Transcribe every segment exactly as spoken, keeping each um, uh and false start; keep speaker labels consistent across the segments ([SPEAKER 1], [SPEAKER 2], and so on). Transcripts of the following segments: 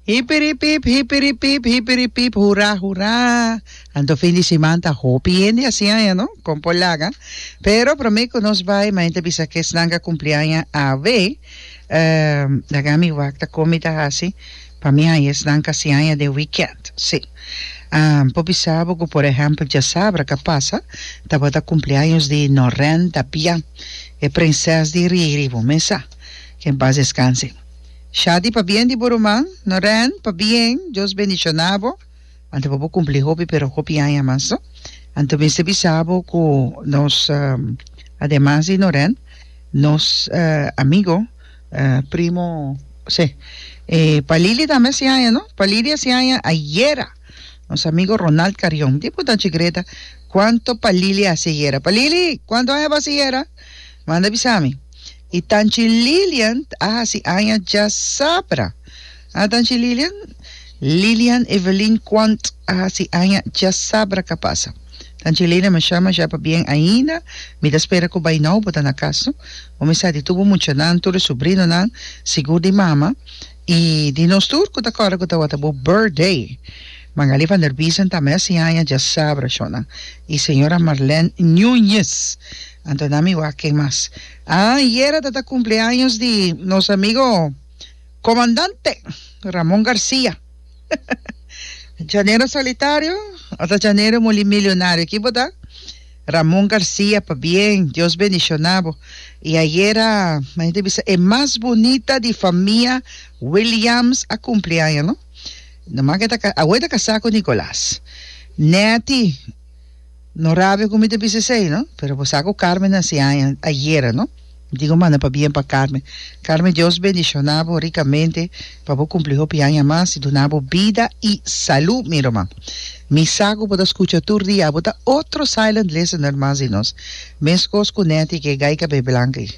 [SPEAKER 1] Hipiripip, hipiripip, hipiripip, hurá, hurá. Anto fin di siman ta hopi hende hasi aña, no? Kon por laga. Pero promé ku nos bai, mi ta bisa ku esnan ku a kumpli aña awe, laga mi wak ta kon mi ta hasi pa mi haña esnan ku hasi aña den weekend. Sí. Por bisa bo ku, por ehèmpel, djasabra ku a pasa tabata kumpleaños di Noren Tapia, e prinses di Riri, bo mes sa. Que en paz descanse. Shadi, pabien di bo ruman. Noren, pabien, Dios bendishoná bo. Anto bo por kumpli hopi pero hopi aña mas, no? Anto mester bisa bo ku nos, ademas di Noren, nos amigo, primo, sí, Palili tambe hasi aña, no? Palili hasi aña ayera. Nos amigo Ronald Carion. Di punta Chigreta, kuanto Palili hasi ayera? Palili, kuanto aña bo hasi ayera? Manda bisa mi. I Tanchi Lilian a hasi aña djasabra. A Tanchi Lilian? Lilian Evelyn Quant a hasi aña djasabra ka pasa. Tanchi Lilian, masha masha pabien ainda. Mi ta spera ku bai nou bo ta na kas, no? Bo mi sa di tur bo muchanan, tur e subrinonan, sigur di mama i di nos tur ku ta kòrda ku tabata bo birthday. Magali van der Biesen tambe a hasi aña djasabra, shonnan. I señora Marlene Nuñez. Anto na mi wak ken mas. Ah, ayera ta ta cumpleaños di nos amigo Comandante Ramon Garcia. Llanero solitario o ta llanero mulimilionario? Ki bo ta? Ramon Garcia, pabien, Dios bendiciona bo. Y ayera, mi ta bisa, e mas bunita di famia Williams a cumpleaños, no? Nomás que ta, awe ta casá cu Nicolas. Netty, No rabia ku mi ta bisa esei, no? Pero bo sa ku Carmen a hasi aña ayera, no? Mi tin ku manda pabien pa Carmen. Carmen, Dios bendishoná bo rikamente pa bo kumpli hopi aña mas i duna bo bida i salú, mi ruman. Mi sa ku bo ta skucha tur dia. Bo ta otro silent listener mas di nos. Meskos ku Netty ku e gai kabei blank ei.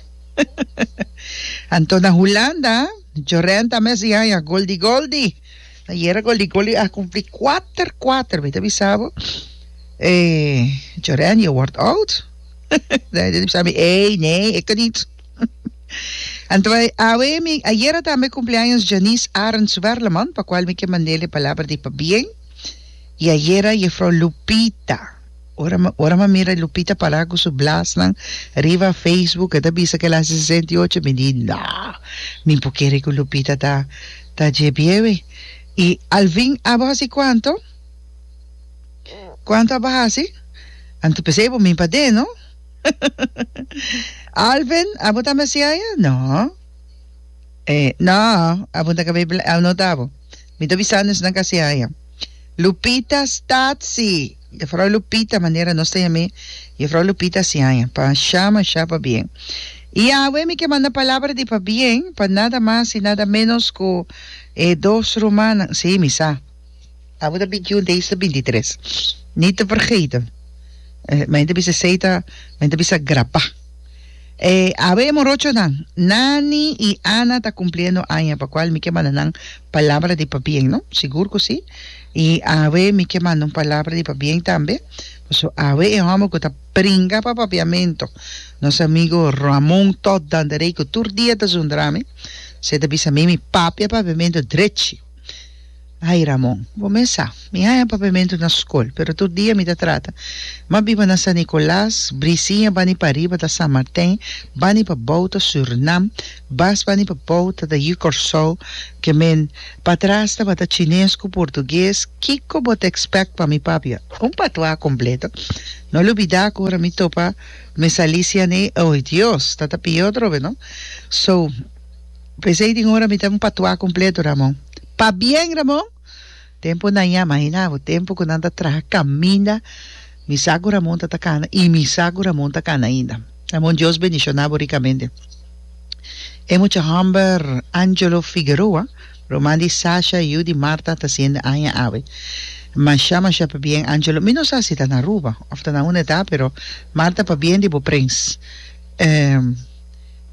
[SPEAKER 1] Anto na Hulanda, Joren tambe a hasi aña, Goldi Goldi. Ayera Goldi Goldi a kumpli kuater kuater, mi ta bisa bo. Eh, Joren, je wordt oud. Hij bisa mi, ey, nee, ik niet. Anto awe mi, ayera tambe cumpleaños Janice Arends Werleman, pa cual mi ke mandele palabra di pabien. Y ayera juffrouw Lupita. Ora mi, ora mi mira Lupita para cu su blasnan riba Facebook, e ta bisa cu el a haci sesenta y ocho, mi di, no, mi por kere cu Lupita ta, ta dje biewe. Y Alvin, abo haci cuanto? Cuanto abo haci? Anto p'esey bo min pad'é, no? Alvin, abo tambe haci aya? No. Eh, no, abo ta cabey bla, abo no ta abo. Mi ta bisando esnan cu haci aya. Lupita Statsi, Juffrouw Lupita, manera nos ta yam'é, Juffrouw Lupita haci aya. Pa sha masha pabien. Y awe mi ke manda palabra di pabien pa nada mas y nada menos cu e dos rumannan, sí, mi sa. Abo ta binti un, Daisy ta binti tres. Niet te vergeten. Mi ta bisa esey ta, mi ta bisa grabá. E awe e morochonan, Nani y Ana ta cumpliendo aña, pa cual mi ke manda nan palabra di pabien, no? Sigur cu si. Y awe mi ke manda un palabra di pabien tambe, pasobra awe e homber cu ta bringa pa papiamento, nos amigo Ramon Todd Dandaré, cu tur dia ta zundra mi, se ta bisa mi, mi papia papiamento drechi. Ai Ramon, bo mes sa, mi haña papiamentu na skol, pero tur dia mi ta trata. M'a biba na San Nicolas, Brisiña bani pariba ta San Martin, bani pabou ta Surnam, bas bani pabou ta ta yu Kòrsou, ke men patras tabata chines ku portugues, kiko bo ta expect pa mi papia? Un patois kompleto. No lubidá ku ora mi topa Miss Alicia ne, oy Dios, ta ta pió atrobe no. So. P'esei tin ora mi ta un patuá kompleto, Ramon. Pabien, Ramon! Tempu nan ya, imagina bo, tempu ku nan ta traha kaminda, mi sa ku Ramon ta ta kana i mi sa ku Ramon ta kana ainda. Ramon, Dios bendishoná bo rikamente. E mucha hòmber Angelo Figueroa, ruman di Sasha, yu di Marta, ta siende aña awe. Masha, masha pabien, Angelo. Mi no sa si ta na Aruba òf ta na unda e ta, pero Marta, pabien di bo prens.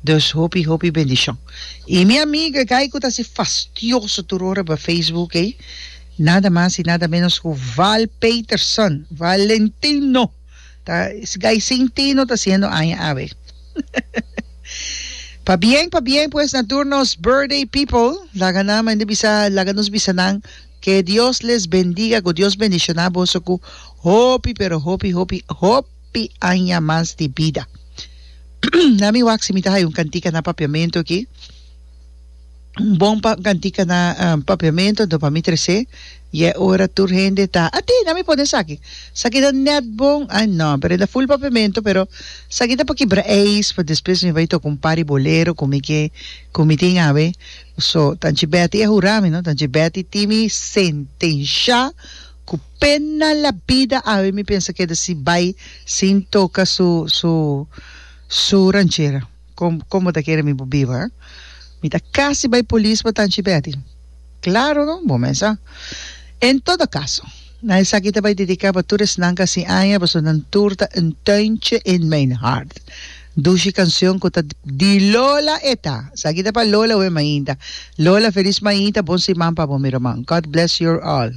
[SPEAKER 1] Dus hopi hopi bendishon. I mi amiga e guy ku ta hasi fastioso tur ora riba Facebook ei, nada mas i nada menos ku Val Peterson, Valentino, ta es guy sin tino ta hasiendo aña awe. Pabien, pabien pues na tur nos birthday people. Laga nan mende bisa, laga nos bisa nan que Dios les bendiga, cu Dios bendiciona boso cu hopi pero hopi hopi hopi aña mas di bida. Na mi wak si mi ta hay un cantica na Papiamento aki. Un bon pa cantica na um, Papiamento, anto pa mi trece. Y e ora tur hende ta, ati, na mi pone esaki. Esaki ta net bon, ay no, pero e ta full Papiamento, pero esaki ta pa kibra ijs, pa despues mi bay toca un par di bolero cu mi ke, cu mi tin awe. So, Tanchi Betty a hura mi, no? Tanchi Betty tin mi sentencia cu pena la bida awe mi pensa keda si bay sin toca su, su, su ranchera. Com, como ta kere mi por biba, eh? Mi ta casi bay polis pa Tanchi Betty. Claro, no? Bo mesa. En todo caso, na esaki ta bay dedica pa tur esnan cu haci aña, pasobra nan tur ta een tuintje in mijn hart. Dushi cancion cu ta di Lola e ta. Esaki ta pa Lola we mainta. Lola, feliz mainta, bon siman pa bo, mi ruman. God bless you all.